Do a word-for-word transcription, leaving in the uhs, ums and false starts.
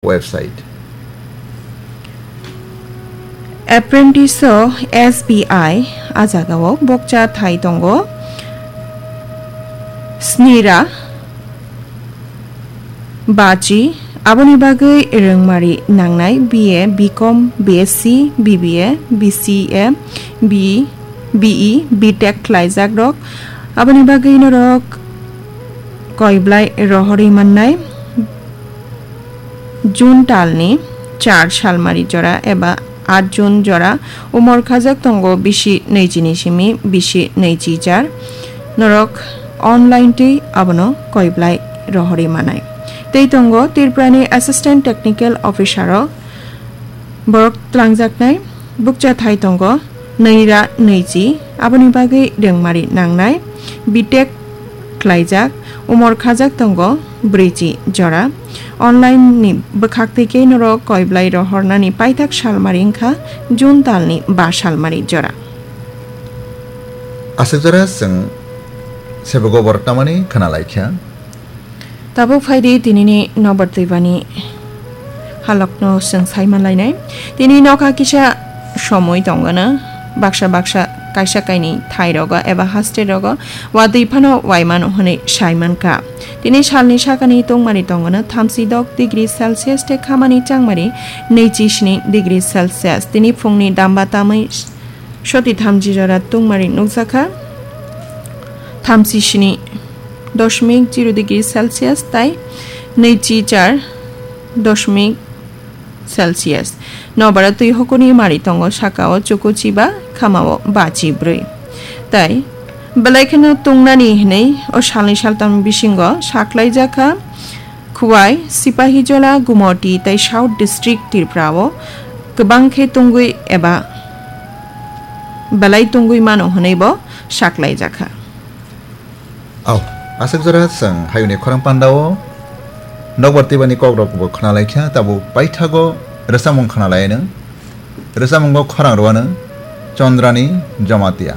website. Apprentice o S B I a jagao bokcha thai tongo snira bachi, aboni bagwi rwngmari nangnai B A, B Com, B S C, B B A, B C A, B E, B E, B Tech khlaijak rok. Aboni bagwi norok koiblai rohorwi mannai. June talni char salmari jora eba aat June jora umor khajak tongo bisi nwichi ni simi bisi nwichi jar. Norok online twi abono koiblai rohorwi manai. Tei tongo Tripurani Assistant Technical Officer o borok tlangjaknai bukcha thai tongo nwi ra nwichi, aboni bagwi rwngmari nangnai B Tech khlaijak, umor khajak tongo brwichi jora. Online ni bwkhak twi khe norok koiblai rohornani paithak salmari wngkha June talni ba salmari jora. Aswk jora chwng sebego borok tamani khna laikha. Tabuk phaidi tinini nobar twibani halokno chwng sai manlainai. Tini nokha kisa somoi tongona, baksa baksa kaisa kaini thai rogo eba haste rogo watwi phano waimano hwnwi sai mankha. Tini salni sakani tungmani tongona thamsi dok degree Celsius tei khamani changmari nwichi sni degree Celsius. Tini phungni damba tamwi soti thamji jora tungmari nukjakha, thamsi sni doshmik zero degree Celsius tai nwichi char doshmik Celsius. Nobara twi hokuni mari tongo, sakao chukuchiba, khamao bachi brwi. Tai belai kheno tungnani hwnwi o salni saltam bisingo saklaijakha Khwai, Sipahijola, Gumoti tei South District Tripura o kwbang khe tungwi eba belai tungwi mano hwnwi bo saklaijakha. Au, aswk jora chwng hayungni khorang pandao nokbar twibani kokrokbo khna laikha, tabuk paithago rwchapmung khna lainw. Rwchapmungo khorang rwano Chandrani Jamatia.